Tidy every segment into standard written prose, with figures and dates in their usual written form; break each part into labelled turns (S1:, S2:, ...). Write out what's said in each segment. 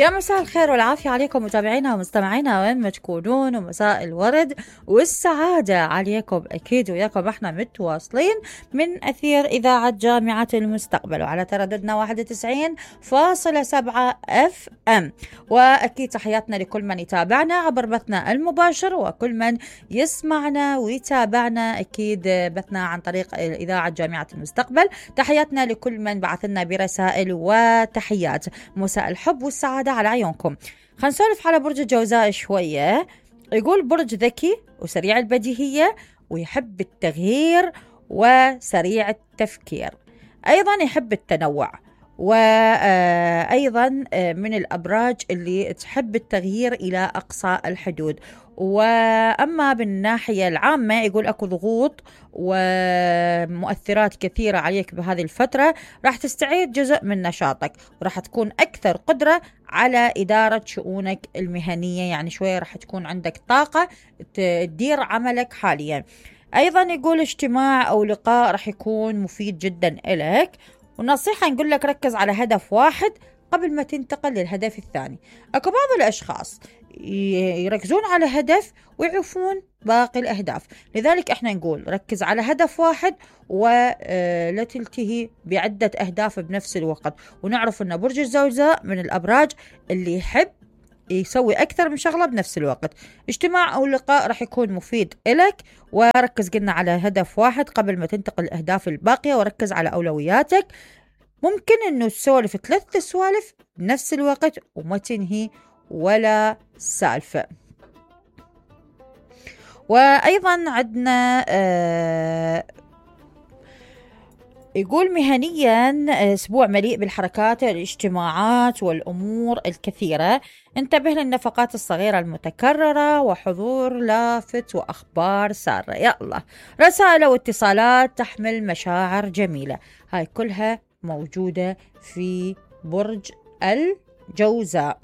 S1: يا مساء الخير والعافية عليكم متابعينا ومستمعينا وين ما تكونون، ومساء الورد والسعادة عليكم. أكيد وياكم احنا متواصلين من أثير إذاعة جامعة المستقبل وعلى ترددنا 91.7 FM. وأكيد تحياتنا لكل من يتابعنا عبر بثنا المباشر وكل من يسمعنا ويتابعنا أكيد بثنا عن طريق إذاعة جامعة المستقبل. تحياتنا لكل من بعثنا برسائل وتحيات. مساء الحب والسعادة على عيونكم. خلينا نسولف على برج الجوزاء شوية. يقول برج ذكي وسريع البديهية ويحب التغيير وسريع التفكير، أيضا يحب التنوع، وأيضا من الأبراج اللي تحب التغيير إلى أقصى الحدود. وأما بالناحية العامة يقول أكو ضغوط ومؤثرات كثيرة عليك بهذه الفترة، راح تستعيد جزء من نشاطك وراح تكون أكثر قدرة على إدارة شؤونك المهنية، يعني شوية راح تكون عندك طاقة تدير عملك حاليا. أيضا يقول اجتماع أو لقاء راح يكون مفيد جدا إليك، ونصيحة نقول لك ركز على هدف واحد قبل ما تنتقل للهدف الثاني. أكو بعض الأشخاص يركزون على هدف ويعرفون باقي الأهداف، لذلك احنا نقول ركز على هدف واحد ولا تلتهي بعدة أهداف بنفس الوقت. ونعرف أن برج الجوزاء من الأبراج اللي يحب يسوي أكثر من شغلة بنفس الوقت. اجتماع أو لقاء راح يكون مفيد إلك، وركز قلنا على هدف واحد قبل ما تنتقل الأهداف الباقية، وركز على أولوياتك. ممكن أنه تسولف 3 سوالف بنفس الوقت وما تنهي ولا سالفة. وأيضا عندنا يقول مهنيا أسبوع مليء بالحركات والاجتماعات والأمور الكثيرة. انتبه للنفقات الصغيرة المتكررة وحضور لافت وأخبار سارة. يا الله، رسائل واتصالات تحمل مشاعر جميلة، هاي كلها موجودة في برج الجوزاء.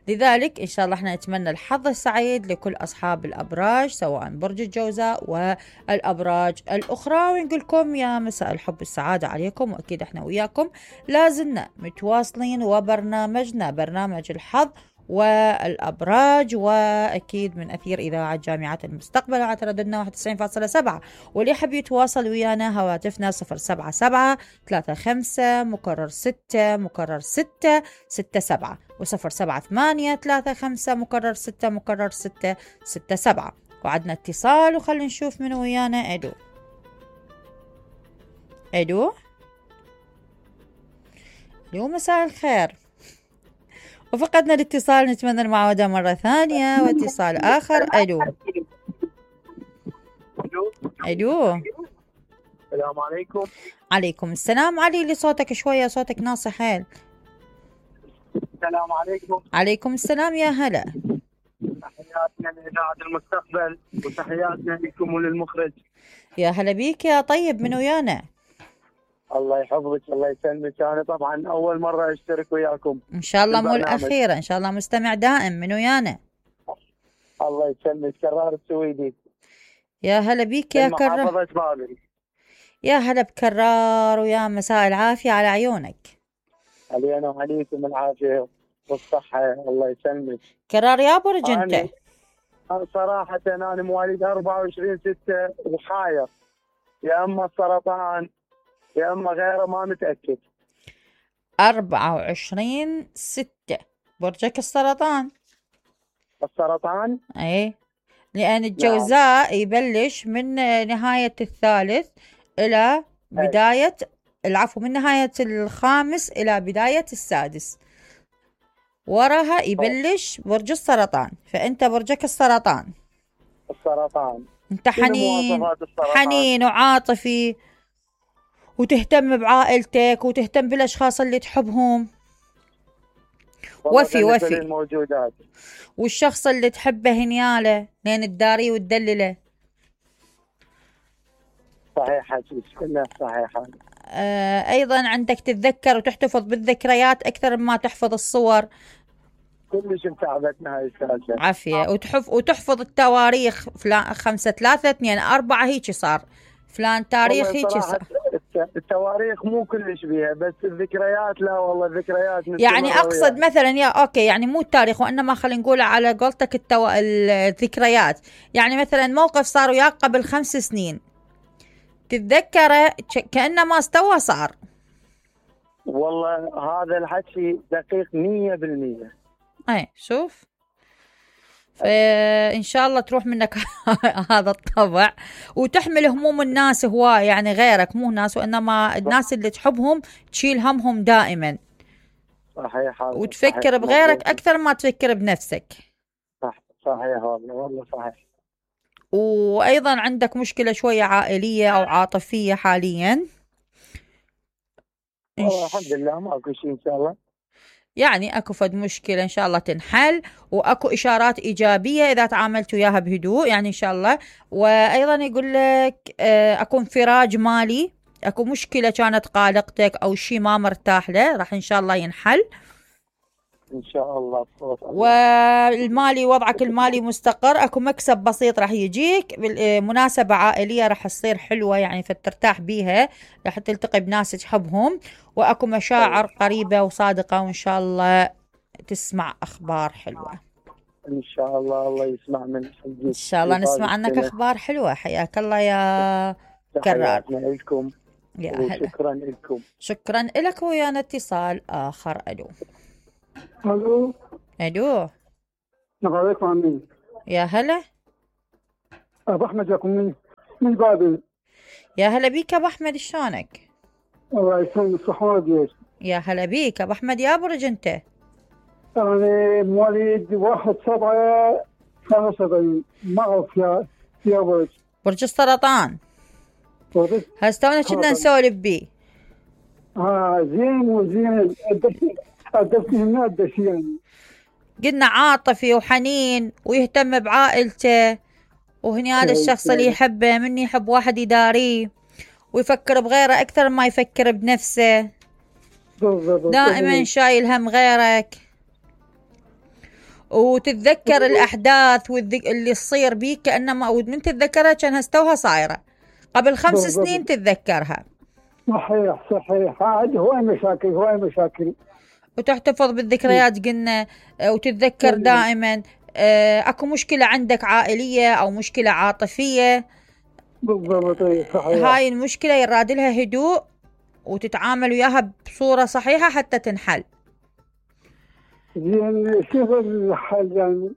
S1: لذلك إن شاء الله احنا نتمنى الحظ السعيد لكل أصحاب الأبراج سواء برج الجوزاء والأبراج الأخرى، ونقول لكم يا مساء الحب والسعادة عليكم. وأكيد احنا وياكم لازلنا متواصلين وبرنامجنا برنامج الحظ والأبراج، وأكيد من أثير إذاعة جامعة المستقبل على ترددنا 91.7. واللي يحب يتواصل ويانا هواتفنا 078-35-6-6-6-7 و078-35-6-6-6-7. وعدنا اتصال وخلينا نشوف من ويانا. أدو مساء الخير. وفقدنا الاتصال، نتمنى المعاودة مرة ثانية واتصال آخر. ألو
S2: السلام عليكم.
S1: عليكم السلام. علي لي صوتك شوية، صوتك ناصح حيل.
S2: السلام عليكم.
S1: عليكم السلام، يا هلا.
S2: تحياتنا لإذاعة المستقبل وتحياتنا لكم وللمخرج.
S1: يا هلا بيك يا طيب، من ويانا؟
S2: الله يحفظك الله يسلمك. أنا طبعا أول مرة أشترك وياكم
S1: إن شاء الله مو الأخيرة، إن شاء الله مستمع دائم. من ويانا؟
S2: الله يسلمك. كرار السويدي.
S1: يا هلا بيك يا كرار. يا هلا بكرار، ويا مساء العافية على عيونك.
S2: علينا وعليكم العافية والصحة. الله يسلمك.
S1: كرار يا برج أنت؟
S2: أنا صراحة أنا مواليد 24/6 وحاير، يا أما السرطان يا أما غيره، ما متأكد.
S1: 24/6 برجك السرطان.
S2: السرطان؟
S1: ايه، لأن الجوزاء يبلش من نهاية الثالث إلى بداية العفو، من نهاية الخامس إلى بداية السادس، وراها يبلش برج السرطان. فأنت برجك السرطان. أنت حنين وعاطفي، وتهتم بعائلتك وتهتم بالأشخاص اللي تحبهم. وفي
S2: الموجودات.
S1: والشخص اللي تحبه هنياله لين تداري وتدلله.
S2: صحيحة، كلها صحيحة.
S1: أيضا عندك تتذكر وتحتفظ بالذكريات أكثر مما تحفظ الصور.
S2: كلش متعبتنا هاي السالفة.
S1: عافية. وتحفظ التواريخ، فلان 5/3/2/4 هيك صار، فلان تاريخ هيك صار.
S2: التواريخ مو كلش بيها، بس الذكريات لا والله الذكريات
S1: يعني اقصد مثلا يا اوكي، يعني مو التاريخ وانما خلينا نقول على قولتك الذكريات. يعني مثلا موقف صار وياك قبل 5 سنين تتذكره كأنما استوى صار.
S2: والله هذا الحكي دقيق 100%.
S1: اي شوف، فإن شاء الله تروح منك هذا الطبع، وتحمل هموم الناس هواي، يعني غيرك مو ناس وإنما الناس اللي تحبهم تشيل همهم دائما.
S2: صحيح.
S1: وتفكر
S2: صحيح.
S1: بغيرك أكثر ما تفكر بنفسك.
S2: صحيح والله صحيح.
S1: وأيضا عندك مشكلة شوية عائلية أو عاطفية حاليا.
S2: والله الحمد لله ماكو شيء إن شاء الله. يعني
S1: اكو فد مشكلة ان شاء الله تنحل، واكو اشارات ايجابية اذا تعاملت وياها بهدوء يعني ان شاء الله. وايضا يقول لك اكو انفراج مالي، اكو مشكلة كانت قالقتك او شيء ما مرتاح له راح ان شاء الله ينحل
S2: ان شاء الله.
S1: والمالي وضعك المالي مستقر، اكو مكسب بسيط راح يجيك بالمناسبة عائلية راح تصير حلوة يعني فترتاح بيها، راح تلتقي بناس تحبهم، واكو مشاعر قريبة وصادقة، وان شاء الله تسمع اخبار حلوة
S2: ان شاء الله. الله يسمع من
S1: ان شاء الله نسمع عنك اخبار حلوة. حياك الله يا كرار.
S2: لكم
S1: يا هلا.
S2: شكرا لكم.
S1: شكرا لك. ويانا اتصال اخر. الو.
S3: الو.
S1: الو.
S3: عليكم عمي.
S1: يا هلا.
S3: ابو احمد جاكم من بابل.
S1: يا هلا بيك ابو احمد، شلونك؟
S3: الله يسلمك. الصحة ديش.
S1: يا هلا بيك ابو احمد. يا برج انت؟
S3: انا مواليد 1/7/75. ما اعرف يا
S1: برج السرطان. هسه تونا كنا نسولف بيه.
S3: زين وزين. الدشين من الدشين.
S1: قلنا عاطفي وحنين ويهتم بعائلته، وهني هذا الشخص اللي يحبه مني يحب واحد يداريه ويفكر بغيره أكثر ما يفكر بنفسه، دائما شايل هم غيرك، وتتذكر الأحداث اللي تصير بيك كأنما من تتذكرها كأنها استوها صايرة قبل 5 سنين تتذكرها.
S3: صحيح. هواي مشاكل
S1: وتحتفظ بالذكريات قلنا، وتتذكر دائما. اكو مشكلة عندك عائلية او مشكلة عاطفية.
S3: بالضبط. صحيح.
S1: هاي المشكلة يراد لها هدوء وتتعامل وياها بصورة صحيحة حتى تنحل.
S3: زين شوف الحل يعني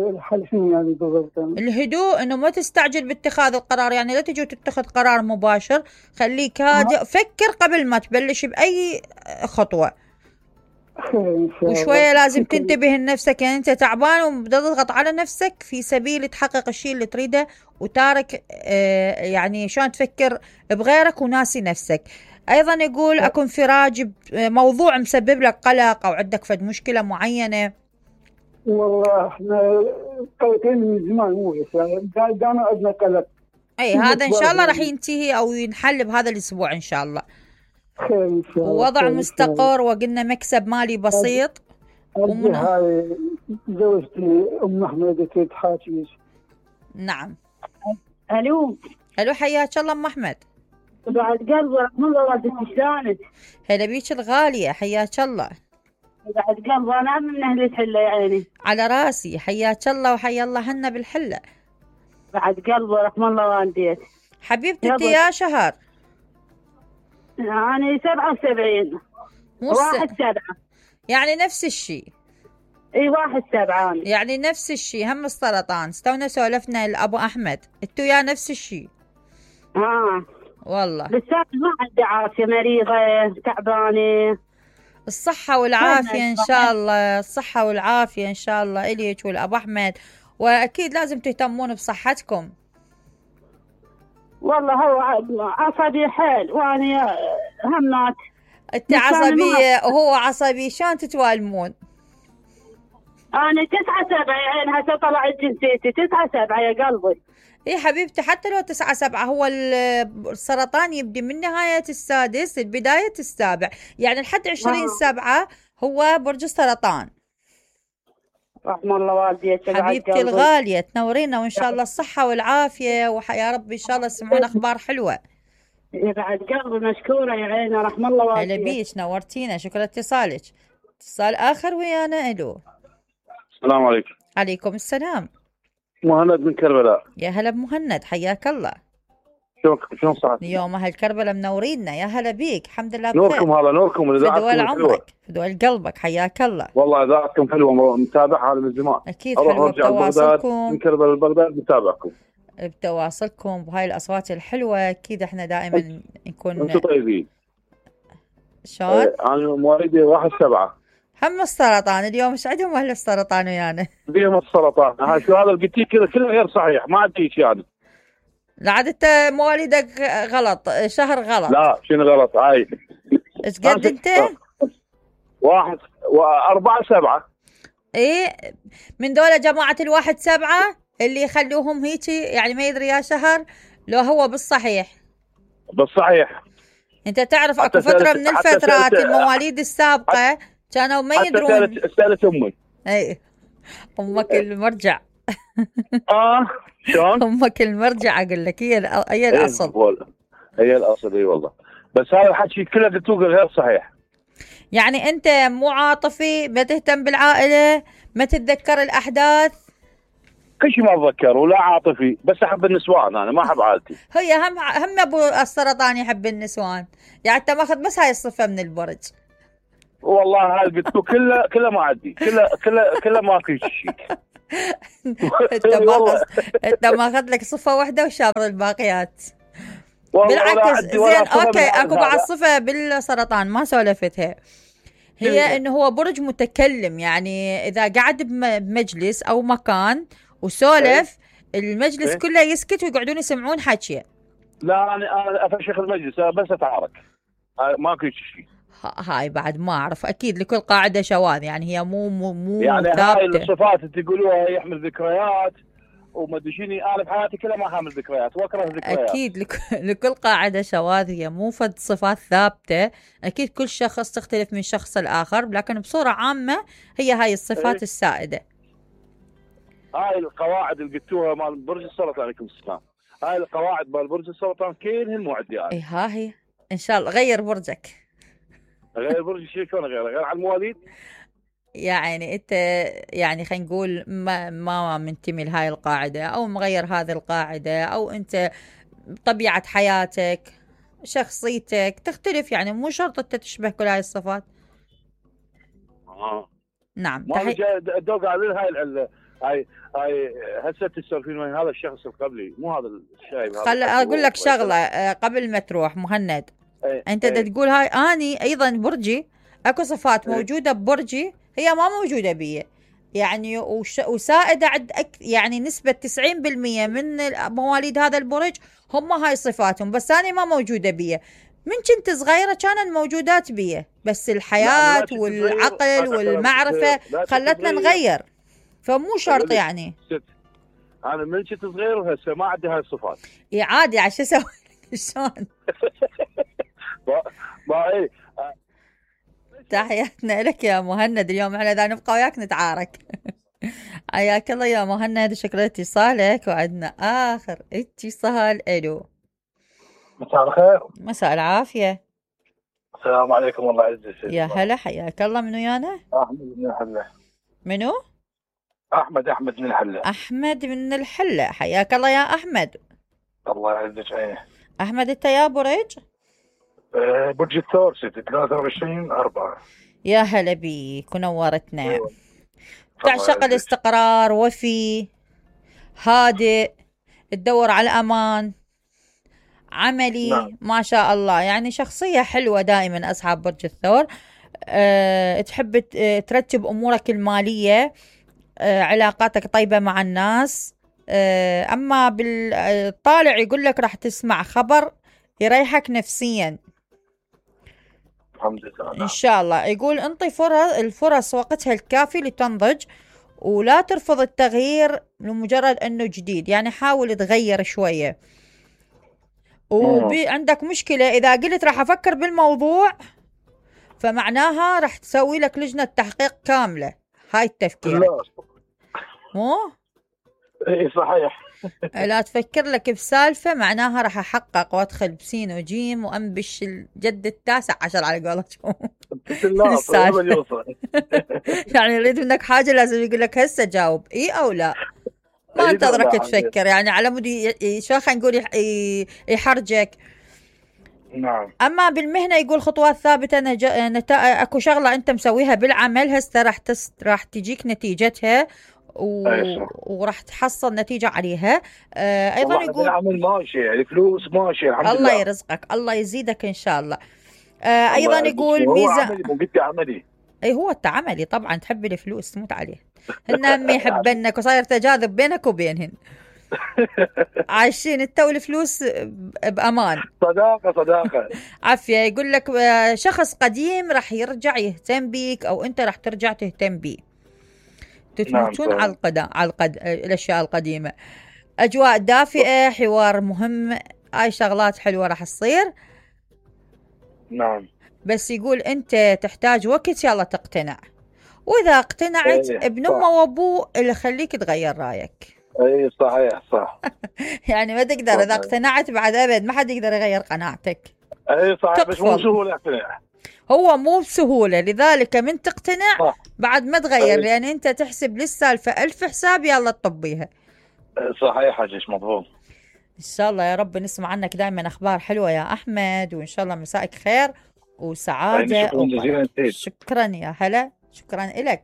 S3: الحل شنو يعني بالضبط؟
S1: الهدوء، انه ما تستعجل باتخاذ القرار، يعني لا تجي وتتخذ قرار مباشر، خليك هادئ، فكر قبل ما تبلش بأي خطوة. وشوية لازم تنتبه لنفسك، يعني انت تعبان وبتضغط على نفسك في سبيل تحقق الشيء اللي تريده، وتارك يعني شلون تفكر بغيرك وناسي نفسك. ايضا يقول اكو انفراج موضوع مسبب لك قلق او عندك فد مشكلة معينة.
S3: والله احنا قلقين من زمان، مو بس يعني دائما عندنا قلق.
S1: اي هذا ان شاء الله راح ينتهي او ينحل بهذا الاسبوع ان شاء الله.
S3: خير ان شاء الله.
S1: ووضع مستقر، وقلنا مكسب مالي بسيط.
S3: هاي زوجتي ام احمد تريد تحاكيك.
S1: نعم.
S4: الو.
S1: حياك الله ام احمد.
S4: بعد قلبي رحم الله والدتك شلونك؟
S1: هلا بيك الغالية، حياك الله.
S4: بعد قلبي انا من اهل الحله يعني.
S1: على راسي، حياك الله وحيا الله هنا بالحله.
S4: بعد قلبي رحم الله والديك.
S1: حبيبتي انت يا شهر؟
S4: أنا 77. 1/7.
S1: يعني نفس الشيء.
S4: اي 1/7
S1: يعني نفس الشيء، هم السرطان. استونا سولفنا لأبو أحمد، انتو يا نفس الشيء.
S4: والله بس ما عندي عافية، مريضة تعبانة.
S1: الصحة والعافية إن شاء الله، الصحة والعافية إن شاء الله إليك والأبو أحمد، وأكيد لازم تهتمون بصحتكم.
S4: والله هو عصبي حيل وأنا همات.
S1: أنت عصبية وهو عصبي، شلون تتوالمون؟
S4: أنا 9/7 يعني هسه طلعت جنسيتي 9/7 يا قلبي.
S1: إيه حبيبتي، حتى لو 9/7 هو السرطان يبدي من نهاية السادس لبداية السابع، يعني لحد 20/7 هو برج السرطان.
S4: رحم الله والديك
S1: حبيبتي الغالية، تنورينا وإن شاء الله الصحة والعافية، ويا رب إن شاء الله تسمعون أخبار حلوة.
S4: يبعد قلبي مشكورة يا عيني، رحم الله
S1: هلا
S4: والديك.
S1: بيك، نورتينا، شكرا اتصالك. اتصال آخر ويانا. ألو.
S5: السلام عليكم.
S1: عليكم السلام.
S5: مهند من كربلاء.
S1: يا هلا بمهند، حياك الله.
S5: شلون صحتك؟
S1: اليوم أهل كربلاء منورينا. يا هلا بيك، الحمد لله بخير.
S5: نوركم، هذا نوركم،
S1: في دول
S5: اذاعتكم حلوه.
S1: عمرك، في دول قلبك، حياك الله.
S5: والله اذاعتكم حلوه، متابعها من زمان.
S1: أكيد حلوة بتواصلكم،
S5: من كربلاء لبغداد متابعكم.
S1: بتواصلكم بهاي الأصوات الحلوة. أكيد احنا دائما نكون.
S5: انتم طيبين.
S1: شلون؟
S5: انا مواليدي 1/7.
S1: هم السرطان اليوم ايش عندهم أهل السرطان ويانا؟
S5: بيهم السرطان. هاي شو هذا اللي قلتيه كله غير صحيح، ما عندي شيء يعني.
S1: لا عاد انت مواليدك غلط، شهر غلط.
S5: لا شنو غلط؟ هاي
S1: ايش قد انت؟
S5: 4/7.
S1: ايه، من دولة جماعة 1/7 اللي يخلوهم هيجي، يعني ما يدري يا شهر لو هو بالصحيح.
S5: بالصحيح.
S1: انت تعرف اكو فترة من الفترات المواليد السابقة كانوا ما يدرون.
S5: سألت امي.
S1: اي امك المرجع.
S5: شلون؟
S1: امك المرجع، اقول لك هي الاصل.
S5: هي الاصل، اي والله. بس هذا الحكي كله قلتوه غير صحيح.
S1: يعني انت مو عاطفي، ما تهتم بالعائلة، ما تتذكر الاحداث.
S5: كل شيء ما اتذكر ولا عاطفي، بس احب النسوان، انا ما احب عائلتي.
S1: هي هم ابو السرطان يحب النسوان، يعني انت ماخذ بس هاي الصفة من البرج.
S5: والله هاي قلت كله ما عندي، كله ما في شيء.
S1: انت ماخذ لك صفة واحدة وشابر الباقيات. بالعكس زين، اوكي اكو بعض صفة بالسرطان ما سولفتها، هي انه هو برج متكلم. يعني اذا قعد بمجلس او مكان وسولف المجلس كله يسكت ويقعدون يسمعون حكيه.
S5: لا انا افشخ المجلس بس اتعارك، ماكو شيء.
S1: هاي بعد ما اعرف، اكيد لكل قاعده شواذ، يعني هي مو
S5: يعني
S1: ثابته.
S5: هاي الصفات اللي تقولوها يحمل ذكريات وما ادري شنو. انا بحياتي كلها ما حامل ذكريات واكره الذكريات.
S1: اكيد لكل قاعده شواذ، هي مو فد صفات ثابته. اكيد كل شخص تختلف من شخص الاخر، لكن بصوره عامه هي هاي الصفات السائده.
S5: هاي القواعد اللي قلتوها مال برج السرطان، عليكم السلام. هاي القواعد مال برج السرطان كلهن مو عندي انا.
S1: اي ها هي ان شاء الله غير برجك.
S5: غير برج شلون غير على المواليد؟
S1: يعني انت يعني خلينا نقول ما منتمي لهاي القاعده، او مغير هذه القاعده، او انت طبيعه حياتك شخصيتك تختلف، يعني مو شرط انت تشبه كل هاي الصفات. نعم.
S5: ما الدوق على هاي هسه تسولفين وين هذا الشخص القبلي، مو هذا الشايب.
S1: خل اقول لك شغله قبل ما تروح مهند. انت تقول هاي اني ايضا برجي، اكو صفات موجوده ببرجي هي ما موجوده بي، يعني وسائده عند يعني نسبه 90% من مواليد هذا البرج هم هاي صفاتهم، بس انا ما موجوده بي. من كنت صغيره كانت موجودات بي، بس الحياه والعقل والمعرفه خلتنا نغير، فمو شرط يعني.
S5: انا من كنت صغير وهسه ما عندي هاي الصفات.
S1: اي عادي، عشان اسوي شلون؟
S5: ما
S1: تحياتنا لك يا مهند. اليوم احنا اذا نبقى وياك نتعارك. حياك الله يا مهند، شكرا اتصالك. وعندنا اخر اتصال. الو.
S6: مساء الخير.
S1: مساء العافيه.
S6: السلام عليكم، الله يعزك.
S1: يا هلا، حياك الله. منو يانا؟
S6: احمد من الحله.
S1: منو؟
S6: احمد من الحله.
S1: احمد من الحله، حياك الله يا احمد.
S6: الله يعزك عيني.
S1: احمد انت يا برج؟
S6: برج الثور 23/4.
S1: يا هلا بيك ونورتنا. تعشق الاستقرار، وفي، هادئ، تدور على الأمان، عملي. نعم. ما شاء الله، يعني شخصية حلوة دائما أصحاب برج الثور. تحب ترتب أمورك المالية، علاقاتك طيبة مع الناس. أما بالطالع يقول لك راح تسمع خبر يريحك نفسيا
S6: الحمد لله.
S1: إن شاء الله. يقول انطي الفرص وقتها الكافي لتنضج، ولا ترفض التغيير لمجرد أنه جديد، يعني حاول تغير شوية. وعندك مشكلة إذا قلت راح أفكر بالموضوع، فمعناها راح تسوي لك لجنة تحقيق كاملة. هاي التفكير
S6: لا
S1: مو؟
S6: اي صحيح.
S1: لا تفكر لك بسالفة معناها راح أحقق وأدخل بسين وجيم وأنبش الجد التاسع عشر على قولتهم.
S6: لا
S1: السالفة.
S6: طيب يوصل.
S1: يعني يريد منك حاجة لازم يقول لك هسه جاوب إيه أو لا، ما
S6: إيه
S1: انتظرك
S6: لا،
S1: تفكر، يعني على مود شو خلينا نقول يحرجك.
S6: نعم.
S1: اما بالمهنه يقول خطوات ثابته، اكو شغله انت مسويها بالعمل هسه راح تجيك نتيجتها
S6: أي صح.
S1: وراح تحصل نتيجه عليها. ايضا
S6: والله
S1: يقول
S6: العمل ماشي، الفلوس ماشي الحمد
S1: الله
S6: لله.
S1: يرزقك، الله يزيدك ان شاء الله.
S6: الله
S1: ايضا
S6: يعزك.
S1: يقول
S6: هو
S1: ميزان.
S6: عملي مو قد عملي.
S1: اي هو انت عملي طبعا تحب الفلوس تموت عليه، هن هم يحبنك وصاير تجاذب بينك وبينهن. عايشين انت والفلوس بامان.
S6: صداقة.
S1: عافية. يقول لك شخص قديم راح يرجع يهتم بيك او انت راح ترجع تهتم بيه، تتموتون
S6: نعم.
S1: على الاشياء القديمة. اجواء دافئة، حوار مهم، هاي شغلات حلوة راح تصير.
S6: نعم.
S1: بس يقول انت تحتاج وقت يلا تقتنع، واذا اقتنعت
S6: إيه،
S1: ابن
S6: صح.
S1: امه وابوه اللي يخليك تغير رايك.
S6: اي صحيح صح.
S1: يعني ما تقدر اذا
S6: صحيح.
S1: اقتنعت بعد ابد ما حد يقدر يغير قناعتك.
S6: اي صحيح، بس مو
S1: تقفل.
S6: سهولة اقتناع.
S1: هو مو بسهولة، لذلك من تقتنع
S6: صح.
S1: بعد ما تغير،
S6: أي.
S1: لأن أنت تحسب للسالفة 1000 حساب يلا تطبيها.
S6: صحيح حجيش مضبوط.
S1: إن شاء الله يا رب نسمع عنك دائما أخبار حلوة يا أحمد، وإن شاء الله مسائك خير وسعادة.
S6: شكرا جزيلا سيد.
S1: شكرا يا هلا، شكرا إلك.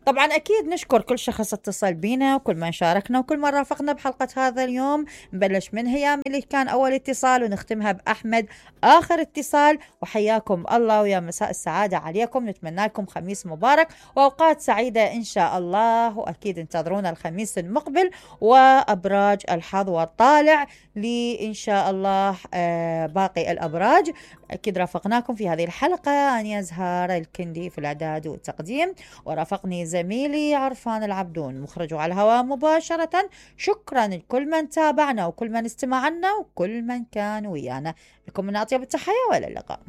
S1: طبعا أكيد نشكر كل شخص اتصل بينا وكل من شاركنا وكل من رافقنا بحلقة هذا اليوم. نبلش من هيام اللي كان أول اتصال ونختمها بأحمد آخر اتصال. وحياكم الله ويا مساء السعادة عليكم، نتمنى لكم خميس مبارك وأوقات سعيدة إن شاء الله. وأكيد انتظرونا الخميس المقبل وأبراج الحظ والطالع لإن شاء الله باقي الأبراج. أكيد رافقناكم في هذه الحلقة أنا زهار الكندي في الإعداد والتقديم، ورافقني زميلي عرفان العبدون مخرج على الهواء مباشرة. شكرا لكل من تابعنا وكل من استمع عنا وكل من كان ويانا. لكم من أطيب التحية وإلى اللقاء.